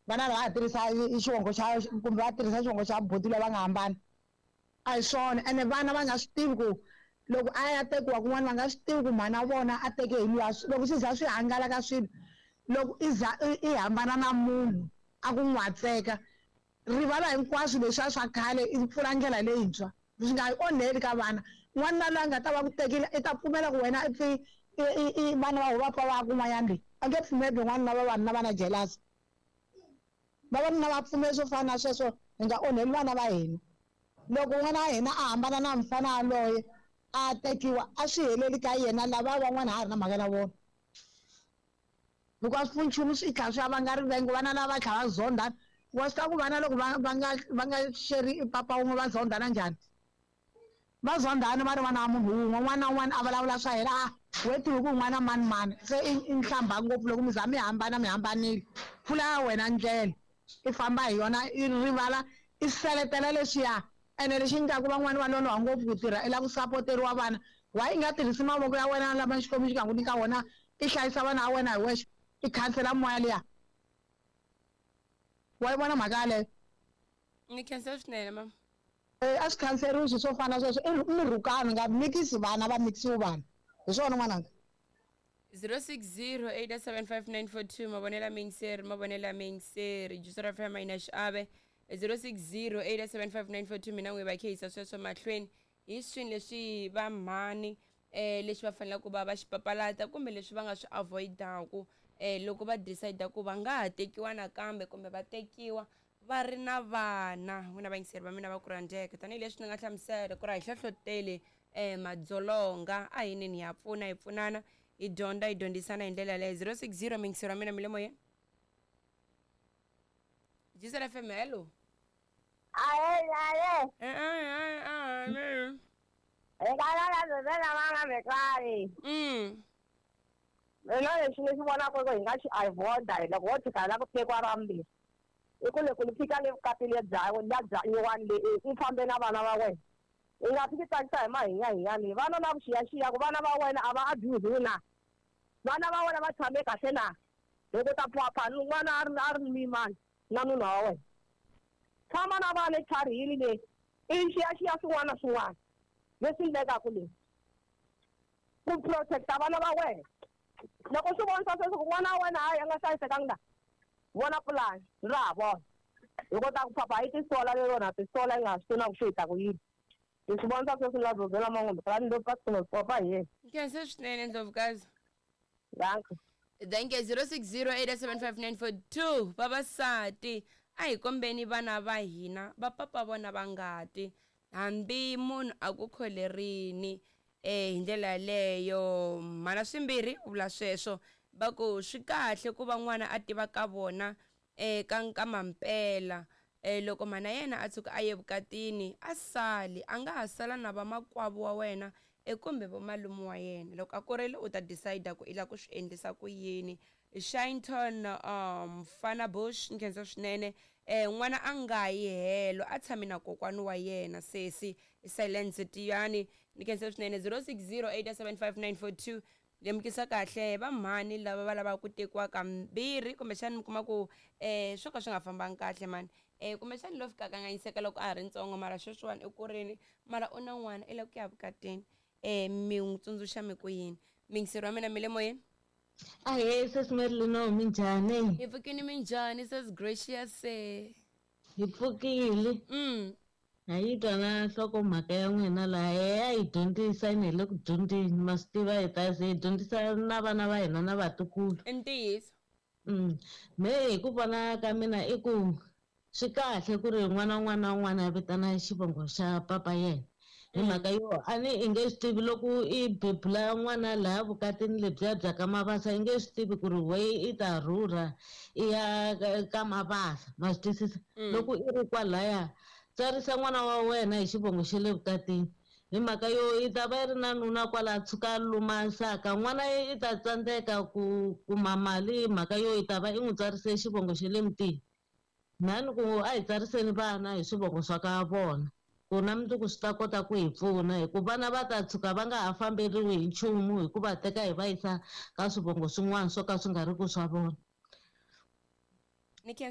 Vana lava ha tirhisa xivongo xa kumbe va tirhisa xivongo xa buti loyi va nga hambana. A hi swona ene vana va nga swi tivi ku loko a ya tekiwa kun'wana va nga swi tivi ku mhana vona a teke hi luya loko swi za swi hangalaka swilo loko i za i hambana na munhu a ku n'watseka rivala hinkwaswo leswiya swa khale i pfula ndlela leyintshwa swi nga yi onheli ka vana n'wanuna loyi a nga ta va ku tekile i ta pfumela ku wena i pfi i vana va va pfa va ya kun'wanyana leyi a nge pfumeli n'wanuna vavanuna va na jealous vavanuna va pfumeli swo fana na sweswo hi nga onheli vana va hina loko n'wana wa hina a hambana na mufana yaloye a tekiwa a swi heleli ka yena lava van'wana ha ri na mhaka na vona hikuva swi pfuni nchumu swi tlhela swi ya vanga rivengo vana lava va tlhela va zondhana wa swi tiva ku vana loko va nga sheri papa wun'we va zondhana njhani va zondhana va ri vana va munhu wun'we un'wana na un'wana a vulavula swa yena a we tivi ku n'wana mani mani se i nhlamba ngopfu loko mi za mi hambana mi hambanile pfula ya wena ndlela i famba hi yona i rivala i seletela leswiya ene lexi endlaku van'wani va loloha ngopfu ku tirha i lava ku sapoteriwa vana why i nga tirhisi mavoko ya wena lama Xikwembu xi nga ku nyika wona i hlayisa vana va wena hi wexe i khansela moya liya wa yi vona mhaka yaleyo. Ni khensa swinene mama. A swi khanseriwi swilo swo fana na sweswo i murhukano nga mikisi vana va mikisiwi vanhu hi swona n'wananga. 0608755942 mavonelo miyingiseri mavonelo miyingiseri juice ra FM yi na xiave 0608755942 mina n'wi va khehisa sweswo mahlweni hi swini leswi va mhani leswi va faneleke ku va va xi papalata kumbe leswi va nga swi avoidaku loko va decide ku va nga ha tekiwa nakambe kumbe va tekiwa va ri na vana. N'wina vayingiseri va mina va ku rhandzeka tanihileswi ni nga hlamusela ku ri a hi hlohloteli madzolonga a hi nini ha pfuna hi pfunana hi dyondza hi dyondzisana hi ndlela yaleyo. 060 miyingiseri wa mina mi le moyeni Gisela FM, hello. Aye, aye. Mina lexi ni xi vonaka ku hi nga xi avoid-a hi loko wo tshika hi lava ku tekiwa ra vumbirhi i ku loko ni fika le vukatini lebya bya nyuwani leyi i fambe na vana va wena i nga fiki tsakisa hi mahinyahinya leyi vana na vuxiyaxiya ku vana va wena a va abuse na vana va wena va tshame kahle na loko ta phapha n'wana a ri mimani na nuna wa wena tshama na vana etlharihini leyi i xiyaxiya swin'wana na swin'wana leswi endlekaka leyi ku protecta vana va wena loko swi vonisa sweswo ku n'wana wa wena hayi a nga hlayisekanga la vona pulani ra ha vona hi kota ku phapha yi tisola lero na tisola yi nga ha swi tivi na ku swi hita ku yini hi swi vonisa sweswi la zozela man'wambe ni lo papa hi yena. Nkhense swinene ndlovukazi. Danko. Thank you. 06087594 vavasati a hi kombeni vana va hina va papa vona va ngati hambi munhu a ku kholerini hi ndlela yaleyo mhana swimbirhi u vula sweswo va ku swi kahle ku va n'wana a tiva ka vona ka ka mampela loko mhana yena a tshuka a ye vukatini a sali a nga ha sala na vamakwavo wa wena kumbe vomalume wa yena loko a kurile u ta decide ku i lava ku swi endlisa ku yini. Shinton Fana Bush nkhensa swinene n'wana a nga yi helo a tshami na kokwani wa yena sesi Silence Tiyani ni khensa swinene. 06087594 lemukisa kahle va mhani lava va lavaka ku tekiwa kambirhi kumbexani mi kuma ku swo ka swi nga fambangi kahle mani kumbexani lo fika kanganyiseka loko a ha ri ntsongo mara sweswiwani i kurini mara u na n'wana i lava ku ya vukatini mi n'wi tsundzuxa mi ku yini miyingiseri wa mina mi le moyeni. Ahee sesi Marilyn, minjhani? Hi pfukini, minjhani sesi Gracious? Hi pfukile. Ha yi twa na nhlokomhaka ya n'wina laha ya hi dyondzisa ene hi le ku dyondzeni ma swi tiva hi ta ze hi dyondzisa na vana va hina na vatukulu. I ntiyiso. Me hi ku vona ka mina i ku swi kahle ku ri n'wana un'wana na un'wana a vitana xivongo xa papa yena hi mhaka yo a ni i nge swi tivi loko i bebula n'wana laha vukatini lebyiya bya ka Mabasa i nge swi tivi ku ri we i ta rhurha i ya ka Mabasa ma swi twisisa loko i ri kwalaya tsarisa n'wana wa wena hi xivongo xa le vukatini hi mhaka yo i ta va yi ri na nuna kwala tshuka luma saka n'wana i ta tsandzeka ku kuma mali hi mhaka yo i ta va i n'wi tsarise xivongo xa le mutini mhani ku a hi tsariseni vana hi swivongo swa ka vona ku na mundzuku swi ta kota ku hi pfuna hi ku vana va ta tshuka va nga ha famberiwi hi nchumu hi ku va teka hi va yisa ka swivongo swin'wana swo ka swi nga ri ku swa vona. Ni khensa.